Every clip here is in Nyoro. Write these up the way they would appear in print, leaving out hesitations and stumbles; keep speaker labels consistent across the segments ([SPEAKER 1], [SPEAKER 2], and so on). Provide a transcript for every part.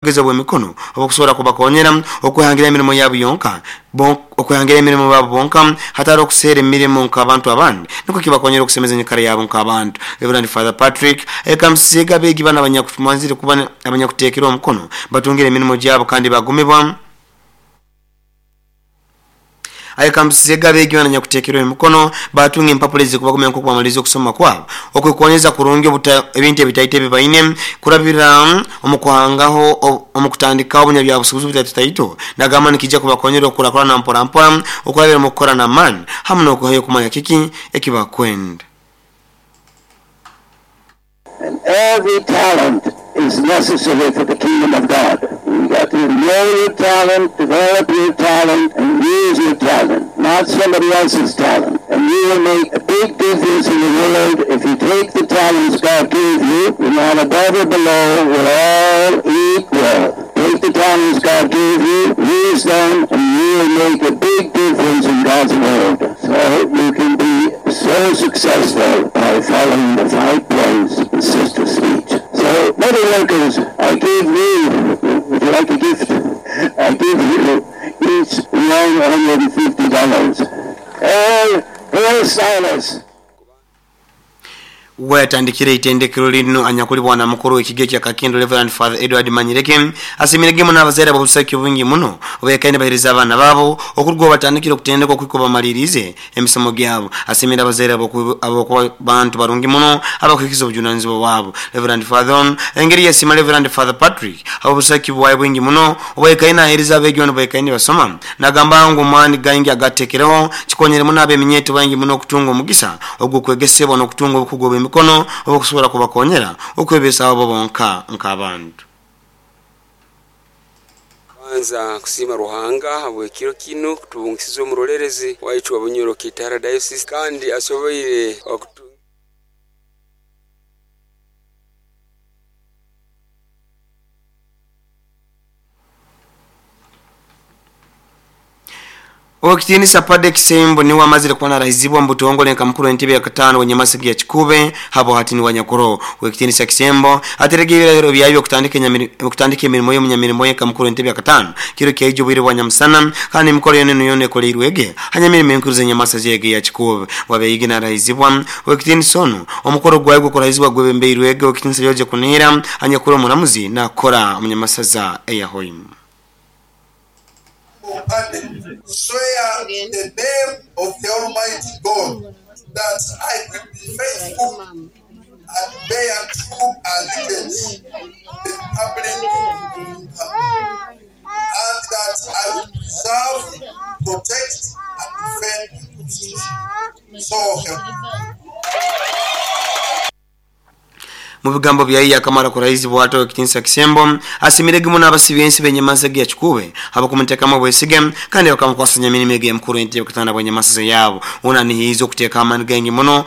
[SPEAKER 1] Obugezi obw'emikono obukusobora kubakonyera okwehangira emirimo yabo yonka okwehangira emirimo yabo bonka hatali okuseera emirimo nk'abantu abandi nikwo kibakonyera okusemeza enyikara yabo nk'abantu. Rev. Father Patrick ayekambisizeege abeegi banu abanyakumanzire kuba abanyakuteekerwe omukono batungire emirimo gyabo kandi bagumibwa. Ayekambisizeege abeegi banu abanyakuteekerwe emikono baatunga empapura ezikubagumya nkoku bamaliriize okusoma kwabo okwekonyeza kurungi ebintu ebitaito ebi baine kurabira omu kuhangaho omu kutandikaho obunyabyabusubuzi obutaitotaito nagamba nikiija kubakonyera okukurakurana mpora mpora okurabira omu kukora n'amaani hamu n'okwehayo kumanya kiki eki bakwenda.
[SPEAKER 2] And every talent is necessary for the kingdom of God. You got to know your talent, develop your talent, and use your talent, not somebody else's talent. And you will make a big difference in the world if you take the talents God gave you. You're not above or below, we're all equal. Take the talents God gave you, use them, and you will make a big difference in God's world. So you can be so successful by following the 5 points in Sister's speech. So, metal workers, I give you, would you like a gift? I give you each $150. All hairstylists.
[SPEAKER 1] Weyatandikire eitendekero linu anyakuli bwana mukuru w'ekigo ekya Kakindu Reverend Father Edward Manyireke asimirege muno abazaire ab'obusaki obwingi muno obekaine bahereza abaana baabo okuruga obu batandikire okutendekwa okuhika obu bamaliriize emisomo gyabo. Asimire abazaire ahabw'okuba bantu barungi muno abakuhikiza obujunanizibwa bwabo. Reverend Father onu engeri yasiima Reverend Father Patrick ahabw'obusaki bwaye bwingi muno obwayekaine nahereza abeegi banu abaikaire nibasoma. Nagamba ngu amaani gaingi agatekereho kikonyere muno ab'eminyeeto baingi muno okutunga omugisa ogw'okwegesebwa n'okutunga obukugu obw'emikono obukusobora kubakonyera okwebesaho bo bonka nk'abantu.
[SPEAKER 3] Kubanza kusiima Ruhanga habw'ekiro kinu kutubungisiza omurolerezi waitu wa Bunyoro Kitara Diocese kandi asoboire okutu.
[SPEAKER 1] Owekitiinisa Paddy Kisembo niwe amazire kuba narahizibwa omu butongole nka mukuru w'entebe ya kataano w'enyamasege ya Kikuube habwa hati niwe anyakuroho. Owekitiinisa Kisembo aterege ebirahiro byayo by'okutandika emirimo ye omunyamirimo ye nka mukuru w'entebe ya kataano kiro kyaija obwire bwa nyamusana kandi emikoro yoona enu yoona ekoleirwege ha nyamirimo enkuru z'enyamasege egi eya Kikuube. Bwabeigi narahizibwa Owekitiinisa onu omukoro gwayo gw'okurahizibwa gwebembeirwege Owekitiinisa George Kunihira anyakuri omuramuzi nakora omunyamasaza eya Hoima.
[SPEAKER 4] Paddy, swear in the name of the Almighty God that I will be faithful and bear true allegiance to the Republic of Uganda, and that I will preserve, protect, and defend the Constitution. So help me.
[SPEAKER 1] Mu bigambo byaye yakamara kurahizibwa ati Owekitinisa Kisembo asimirege muno abasibi ensi b'enyamasaga ya Kikuube habw'okumutekamu obwesige kandi bakamukwasa nyamirimo egi emukuru entebe kutanda bw'enyamasaza yaabo. Onu anihiize okuteeka amaani gaingi muno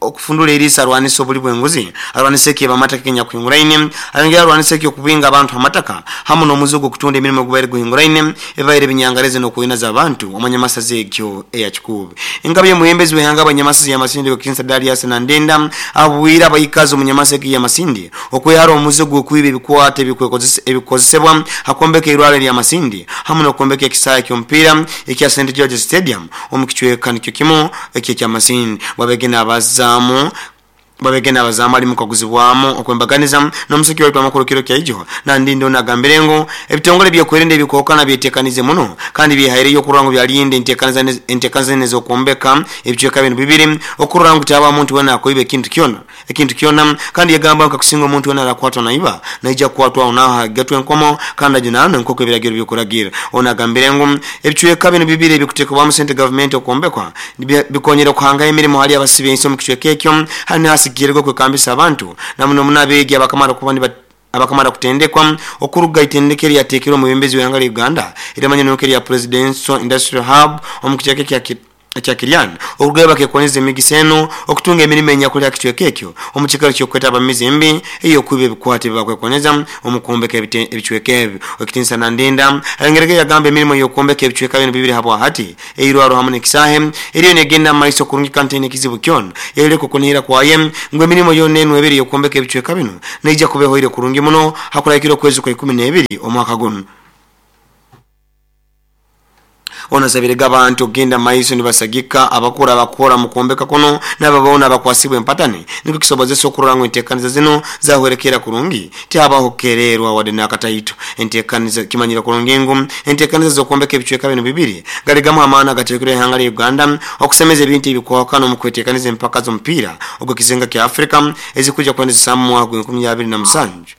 [SPEAKER 1] okufundura eriiso arwanise obuli bw'enguzi, arwanise ekiiba amataka ekinyakuhinguraine, ayongere arwanise eky'okubinga abantu ha mataka hamu n'omuze ogw'okutunda emirimo ogubaire guhinguraine ebibaire binyangareze n'okwinaza abantu omu nyamasaza egyo eya Kikuube. Engabi y'omwebembezi w'ihanga abanyamasaza ya Masindi Owekitinisa Darius Nandenda abwire abaikazi omu nyamasa egi ya Masindi okwehara omuze gw'okwiba ebikwato ebikukozesebwa ha kwombeka eirwarro erya Masindi hamu n'okwombeka ekisaayi ky'omupiira ekya St George's Stadium omu kicweka nikyo kimu eki ekya Masindi. Bwabege nabazaamu Bwabege nabazaamu ali mukaguzibwamu okwembaganiza n'omusiki waitu amakuru kiro kyaijo. Nandindi onu agambire ngu ebitongole by'okwerinda ebikuhukana byetekanize muno kandi byehaireyo okurora ngu byalinda entekaniza zinu ez'okwombeka ebicweka binu bibiri okurora ngu tihabaho muntu wena akoiba ekintu kyona ekintu kyona kandi yagamba ngu kakusinga omuntu wena arakwatwa naiba naija kukwatwa aho naaho agatwe enkomo kandi ajunanwe nk'oku ebiragiro bikuragira. Onu agambire ngu ebicweka binu bibiri ebikutekebwamu sente gavumenti okwombekwa bikonyire okuhangaho emirimo hali abasiba ensi omu kicweka ekyo hali nihasigikirra okwekambisa abantu na muno muno abeegi abakamara kuba abakamara kutendekwa okuruga itendekero eryateekirwe omwebembezi w'ihanga lya Uganda erimanyirwe nk'erya Presidential Industrial Hub omu kicweka ekya ekya Kirian okurugayo bakekonyeza emigisa enu okutunga emirimo enyakuli ha kicweka ekyo omu kiikaro ky'okwetaba mu mize embi ey'okwiba ebikwato ebibakwekonyeza omu kwombeka ebicweka ebi. Owekitinisa Nandinda ayongerege yagamba emirimo y'okwombeka ebicweka binu bibiri habwahati eirwaro hamu n'ekisaahe eriyo negenda mu maiso kurungi kandi teine kizibu kyona. Yayoleka okunihira kwaye ngu emirimo yoona enu ebiri ey'okwombeka ebicweka binu neija kuba ehoire kurungi muno hakurahikira okwezi kwa ikumi n'ebiri omwaka gunu. Ono asabirege abantu okugenda maiso nibasagika abakuru abakukora omu kwombeka kunu naabo boona abakwasibwe empatani nikwo kisobozese okurora ngu entekaniza zinu zahwerekeera kurungi tihabaho kukereerwa wadde nakataito. Entekaniza Kimanyire kurungi ngu entekaniza z'okwombeka ebicweka binu bibiri gali gamu h'amaani agateekirwe ihanga lya Uganda okusemeza ebintu ebikwahukana omu kwetekaniza empaka z'omupiira ogw'ekizinga kya Africa ezikwija kwendezesa mu mwaka gw'enkumi abiri na musanju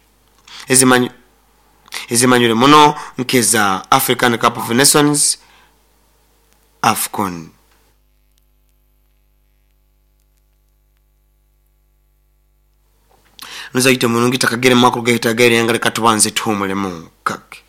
[SPEAKER 1] ezimanyirwe muno nk'eza African Cup of Nations, AFCON. Muzaite murungi takagere mu makulu gaitu ag'eirenga leka tubanze tuhumulemu kake.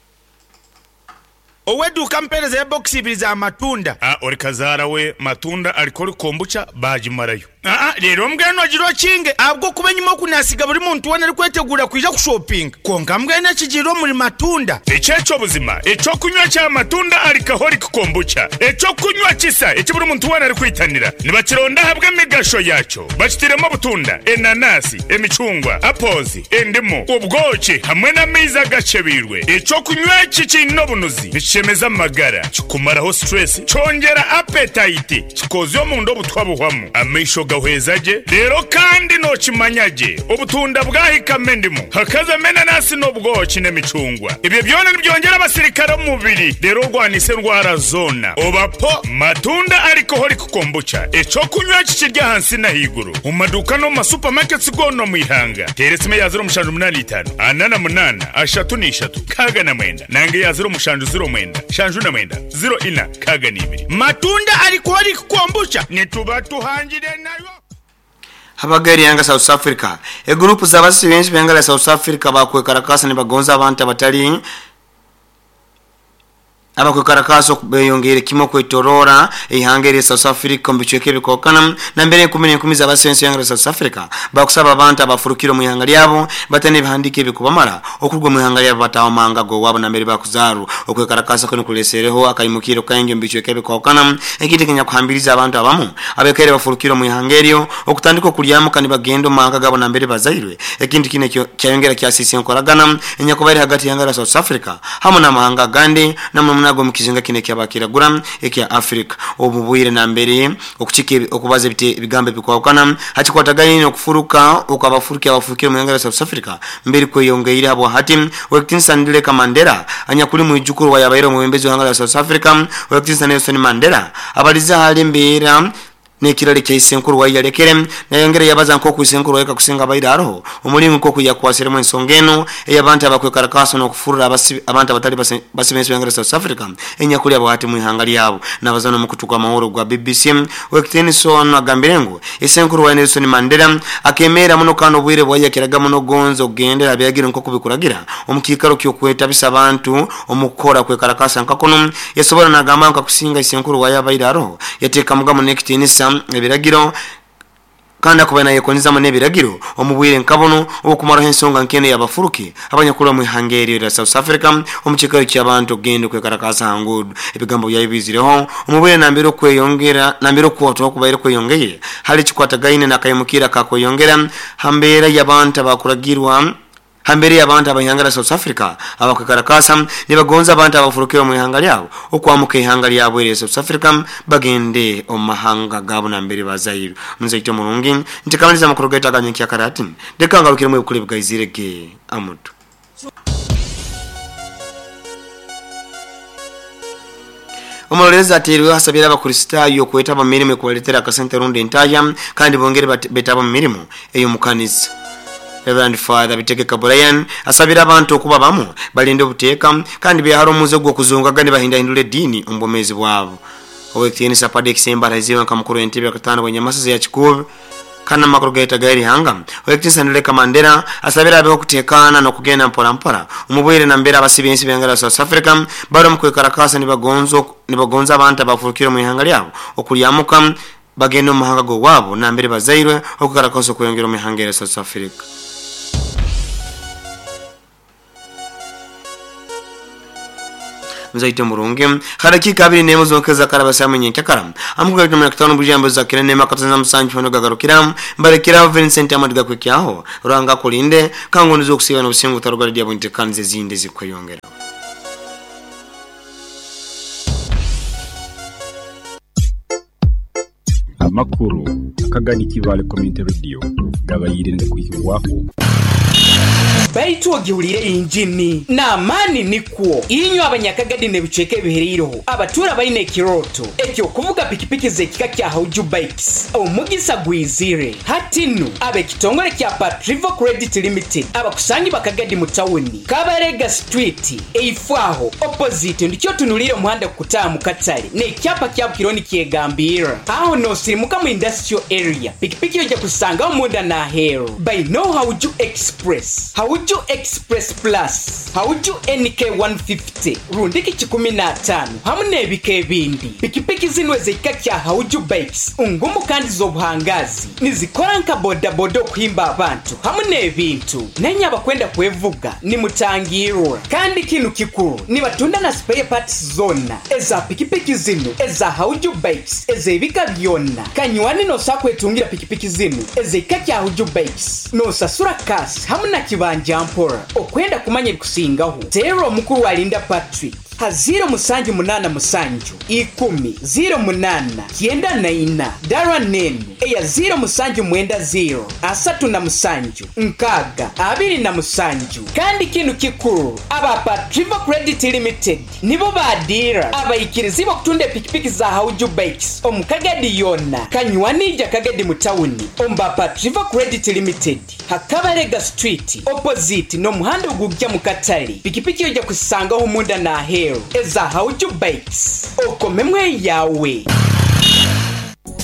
[SPEAKER 5] Ow'eduuka mpeereza ebokisi ibiri za matunda.
[SPEAKER 6] Aa ori kazaara we matunda alcoholic kombucha baagimarayo.
[SPEAKER 5] Aa reero mbwenu ogira okinge ahabw'okuba enyima oku naasiga buri muntu weena arikweteguura kwija kushopinga. Kwonka mbwenu ekigiire omuri matunda.
[SPEAKER 6] Eki eky'obuzima eky'okunywa kya matunda alcoholic kombucha, eky'okunywa kisa eki buri muntu weena arikwitanira. Nibakironda ahabw'emigasho yaakyo. Bakitairemu obutunda, enanasi, emicungwa, apples, endimu, obwoki hamwe n'amaizi agakyebeirwe. Eky'okunywa eki kiine obunuzi, nikishemeza amagara, kikumaraho stress, kyongyera appetite, kikozya omunda obutwa buhwamu, amaisho gahweza gye, reero kandi nookimanya gye obutunda bwahikamu endimu, hakazamu enanasi n'obwoki n'emicungwa. Ebyo byona nibyongyera abasirikare omu mubiri reero orwanise endwara zoona. Oba po Matunda Alcoholic Kombucha, eky'okunywa eki kiri ahansi n'ahaiguru omu maduuka n'omu ma supermarkets goona omu ihanga. Teera esimu eya ziro mushanju munaana itaano ana na munaana ashatu na ishatu nkaaga na mwenda nanga eya ziro mushanju ziro mwenda nshanju na mwenda ziro ina nkaaga na ibiri.
[SPEAKER 5] Matunda Alcoholic Kombucha nituba tuhangire nayo.
[SPEAKER 1] Abaga erihanga South Africa. Eguruupu z'abasisi b'ensi b'ihanga lya South Africa bakwekarakasa nibagonza abantu abatali Abakwekarakaasa oku beyongeire kimu okwetoroora eihanga erya South Africa omu bicweka ebikokana nambere enkumi n'enkumi z'abasensi b'ihanga lya South Africa bakusaba abantu abafurukire omu ihanga lyabo bataine ebihandiiko ebikubamara okuruga omu ihanga lyabo bataaha omu mahanga g'owaabo nambere bakuzaarwa. Okwekarakasa kunu kulesereho akaimukiiro kaingi omu bicweka ebikokana ekintu ekinyakuhambirize abantu abamu abaikaire bafurukire omu ihanga eryo okutandika okulyamuka nibagenda omu mahanga gaabo nambere bazairwe ekintu kinu kyayongera kyasiisa enkoragana enyakubaire hagati y'ihanga lya South Africa hamu n'amahanga agandi na muno muno ag'omu kizinga kinu eky'Abakiragura ekya Afrika. Obu bwire nambere okukika okubaza ebigambo ebikwahukana ha kikwatagaine n'okufuruka okw'abafuruki abafurukire omu ihanga lya South Africa mberi kweyongeire habwahati Owekitinisa Ndileka Mandela anyakuli mwijukuru wa yabaire omwebembezi w'ihanga lya South Africa Owekitinisa Nelson Mandela abalize hali embeera N'ekirala ekya isenkuru waye yalekere, nayongera yabaza nk'oku isenkuru waye kakusinga abaire aroho, omulingo nk'oku yakwasiremu ensonga enu ey'abantu abakwekarakaasa n'okufurra abantu abatali basibe ensi b'ihanga lya South Africa enyakuli abwahati mu ihanga lyabo. Nabaza n'omukutu gw'amahurre ogwa BBC, Owekitiinisa onu agambire ngu isenkuru waye Nelson Mandela akemeera muno kandi obwire bwaye yakiraga muno gonza okugendera ha biragiro nk'oku bikuragira omu kiikaro ky'okwetabisa abantu omu kukora kwekarakaasa nka kunu. Yasobora nagamba ngu kakusinga isenkuru waye abaire aroho Yateekamuga muno ekitiinisa ebiragiro, kandi akubaire nayekoneza muno ebiragiro omu bwire nka bunu obw'okumaraho ensonga nk'enu ey'abafuruki abanyakurra omu ihanga eryo erya South Africa omu kiikaro ky'abantu kugenda okwekarakaasa ha nguudo. Ebigambo byayo biizireho omu bwire nambere okweyongera nambere okuhotwaho kubaire kweyongeire hali ekikwatagaine n'akaimukirro akakweyongera ha mbeera y'abantu abakuragirwa Ha mbeera ey'abantu ab'ihanga lya South Africa abakwekarakaasa nibagonza abantu abafurukire omu ihanga lyabo okwamuka ihanga lyabo erya South Africa bagende omu mahanga gaabo nambere bazairwe. Muzaite omurungi, ntekamaliza amakuru gaitu aga nyenkyakara hati leka ngarukiremu ebikuru ebigaizire ge amutu. Omuroleerezi ateirweho asabire Abakristaayo okwetaba omu mirimo ekubaletera akasente rundi entahya kandi bongere betabe omu mirimo ey'omukanisa. Rev. Father Bitegeka Brian asabire abantu okuba bamu, balinde obuteeka kandi behare omuze ogw'okuzungaga nibahindahindura ediini omu bwomeezi bwabo. Ow'ekitiinisa Paddy Kisembo arahiziibwe nka mukuru w'entebe yakataano bw'enyamasaza eya Kikuube. Kandi amakuru gaita gairihanga owekitinisa Nduleka Mandela asabira abeho kutekana nokugenda mpora mpora umubwire na mbere abasibensi bengala South Africa bari mu kwekarakasa nibagonza abantu abafurukira mu ihanga lyabo okulyamuka bagenda mu mahanga go wabo na mbere bazairwe okukarakasa kuyongera mu ihanga lya South Africa. Mzaite murungi harakika abiri nemo zokeza karabasa munyenkakara amukuga tumena kitano bujambo za kirene makataza musanju fano gagarukira mbarekira Vincent Amadiga kwekyaho rwanga kulinde kango nizo kusiba no tarugara dia buntekanze zinde zikweyongera.
[SPEAKER 7] Amakuru akagani kibale community radio gabayire kwihwaho
[SPEAKER 8] baitu ogihulire injini n'amaani nikwo inyo abanyakagadi nebicweka ebihereireho abatura baine ekiroto ekyokuvuga pikipiki z'ekika kya Hauju Bikes omugisa gwizire hatinu ab'ekitongole kya Patrivo Credit Limited abakusangi bakagadi mu tawuni Kabarega Street eifwaho opposite ndikyo tunulire omuhanda kukutaaha mu katale n'ekyapa kya Bukironi kyegambira aho nosirimuka mu industrial area pikipiki yojja kusangaho munda n'aheeru by no Hauju Express Hauju Express Plus, Hauju NK 150, rundiki 15, hamwe n'ebika ebindi. Pikipiki zino ez'ekika kya Hauju Bikes, ngumu kandi z'obuhangazi, nizikora nka bodaboda okuhimba abantu hamwe n'ebintu. Nenye abakwenda kwevuga nimutangirwa. Kandi kinu kikuru, nibatunda na spare parts zona eza pikipiki zino eza Hauju Bikes ez'ebika byonna. Kanywani nosakwetungira pikipiki zino ez'ekika kya Hauju Bikes, nosasura kasi hamwe na kibanja mpora okwenda kumanya ebikusingaho tero omukuru walinda Patrick ha 0787 10 08 94 dara nenu eya 0790 37 6 27. Kandi kinu kikuru aba Patrivo Credit Limited nibo badira abayikirizi bakutunda pikipiki za Hauju Bikes omukagadi yonna kanywanija kagadi mu tawuni omba Patrivo Credit Limited Hakabarega Street opposite no muhanda ogujja mu katale pikipiki yojja kusangaho munda na heru eza Hauju Bikes okomemwe yawe.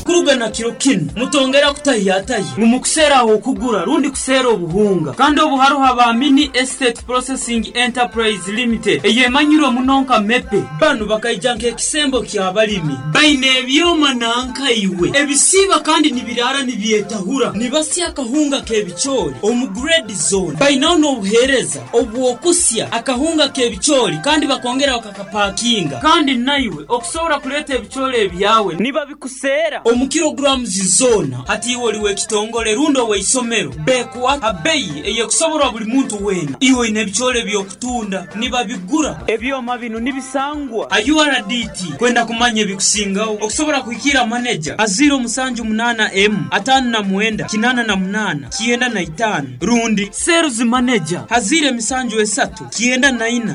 [SPEAKER 9] Kurugana kiro kino mutongera kutahiyataye mumukusera aho kugura rundi kusera obuhunga kandi obuharuha ba Mini Estate Processing Enterprise Limited eyemanyiro munonka mepe banu bakaijanka ekisembo kya balimi baine ebyoma nanka iwe ebisiba kandi nibirara nibyetahura nibasya akahunga kebichori omu grade zone bainaho n'obuhereza obwokusya akahunga kebichori kandi bakongera bakakapakinga kandi naiwe okusobora kuleta ebichori ebyawe niba bikusera omu kilograms zona hati iwe oliwe ekitongole rundo weisomero bekuwa abeyi eyekusoborwa buli muntu wena iwe ine ebichore byokutunda nibabigura ebyoma bino nibisangwa URDT kwenda kumanya ebikusingaho okusobora kuhikira manager a 078 M 59 88 95 rundi sales manager hazire misanju 3 94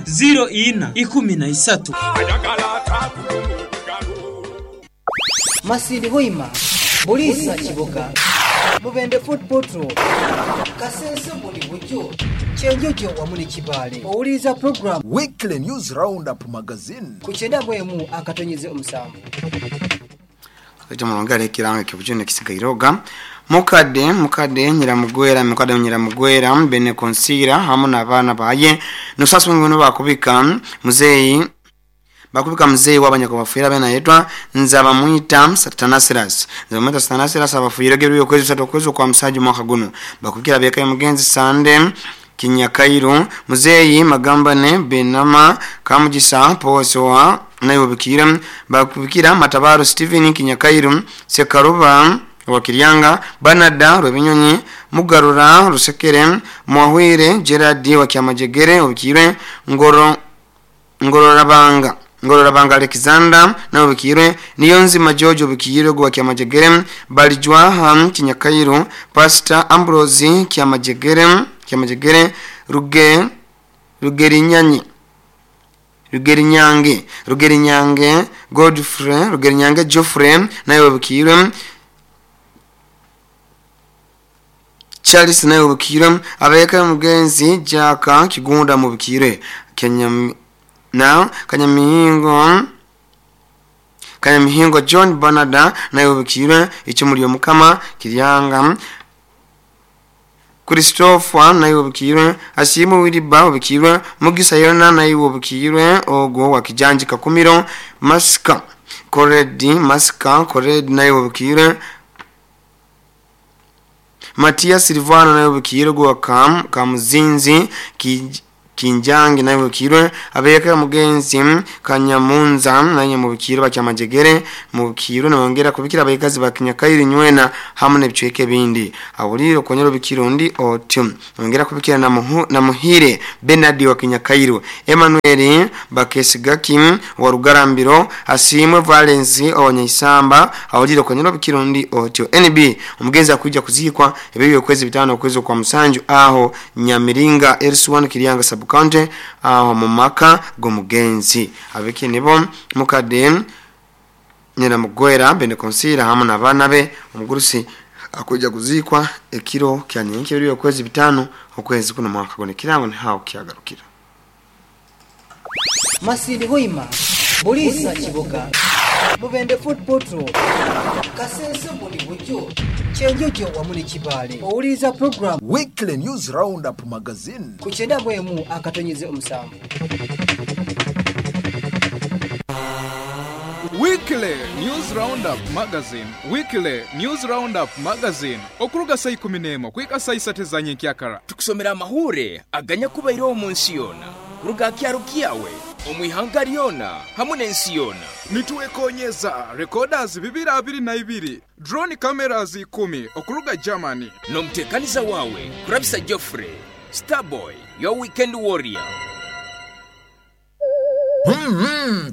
[SPEAKER 9] 04 13.
[SPEAKER 10] Masindi Hoima, Bulisa Kiboga, Mubende Food Portal, Kasese buli bujo, Kyenjojo wamu ne Kibaale. Owuliriza program
[SPEAKER 11] Weekly News Roundup Magazine
[SPEAKER 10] ku 91.7.
[SPEAKER 1] Ete mulongale kiranga kibujune kisigairoga. Mukade nyiramugwera mukade nyiramugwera bene konsira hamu n'abaana baye nusasu ngono bakubika muzeyi bakubika mzee wabanyako bafuira bena yetwa nzaba muita Satanasiras nzaba muita Satanasiras abafuira geruyo kwezi satokwezo kwa msaji mwaka guno bakubikira beka mugenzi Sande Kinyakairu muzeyi magambane benama kamugisa posoa nayo bikira bakubikira matabaro Steven Kinyakairu Sekaruba Wakiryanga Banada Rwebinyonyi Mugarura Rusekere Mwahwire Gerard wa Kyamajegere obikire Ngororabanga Alexander na obikire Niyonzima George obikire gwa Kyamajegere Balijwaha Kinyakairu Pastor Ambrose Kyamajegere Rugerinyange Godfrey Rugerinyange Geoffrey nayo obikire Charles nayo obikire abeka mugenzi Jaka Kigunda mubikire Kenya na Kanyamihingo John Bernard naye obikirwe icumu ly'omukama Kiryanga Christopher naye obikirwe Asimu Wiliba obikirwe Mugisa Yona naye obikirwe ogwo wa Kijanji Kakumiro Masika Koredi Masika Koredi naye obikirwe Matias Silvano naye obikirwe gwa Kamuzinzi Kinjangi naye obikirwe abeka mugenzi Kanyamunza naye mubikirwe bakyamajegere mubikirwe nongera kubikira abayikazi bakinyakairi nywena hamwe n'ebicweke bindi awuliro konyero bikiro ndi otyo nongera kubikira na Muhire Bernard wa Kinyakairu Emmanuel Bakesigaki wa Rugarambiro Asimwe Valence Owanyaisamba awuliro konyero bikiro ndi otyo NB omugenzi akujja kuzikwa ebyo kwezi bitano kwezi kwa Musanju aho Nyamiringa Elsuan Kiryanga Sabukante aho mumaka gomugenzi abiki nibo mukade nyina mugwera bene konsira hamwe n'abana be omugurusi akujja kuzikwa ekiro kya nyenke biri kwezi bitano okwezi kuno mwaka gone kirango ni hawo kyagarukira.
[SPEAKER 10] Masindi Hoima Bulisa Kiboga Mubende Food Portal Kasese buli bujo Kyenjojo wamu ne Kibaale owuliriza program
[SPEAKER 11] Weekly News Roundup Magazine
[SPEAKER 10] ku 97.7.
[SPEAKER 12] Weekly News Roundup Magazine. Weekly News Roundup Magazine. Okuruga saa 11 kuika saa 3 za nyenkyakara.
[SPEAKER 13] Tukusomera amahure aganya kubaire omu nsi yona. Kuruga kyaro kyawe omwihanga lyona hamwe n'ensi yona.
[SPEAKER 12] Nituwekonyeza recorders 222 drone cameras 10 okuruga Germany.
[SPEAKER 13] N'omutekaniza wawe Kurabisa Geoffrey Starboy your weekend warrior.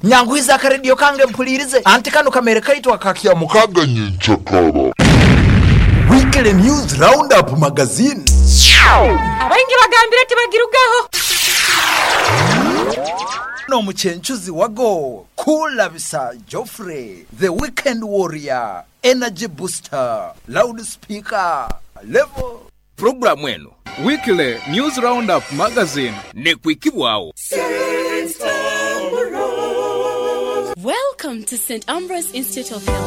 [SPEAKER 11] Nyanguiza akaredio kange mpulirize anti kano kamere kaitwa kakya
[SPEAKER 4] mukaga nyenchakara.
[SPEAKER 11] Weekly News Roundup Magazine.
[SPEAKER 14] Abaingi bagambira tibagirugaho.
[SPEAKER 11] No muchenchuzi wago Kulabisa Geoffrey the weekend warrior energy booster loudspeaker level.
[SPEAKER 13] Programu eno
[SPEAKER 12] Weekly News Roundup Magazine
[SPEAKER 13] nekwikibwawo.
[SPEAKER 15] Welcome to St. Ambrose Institute of Health.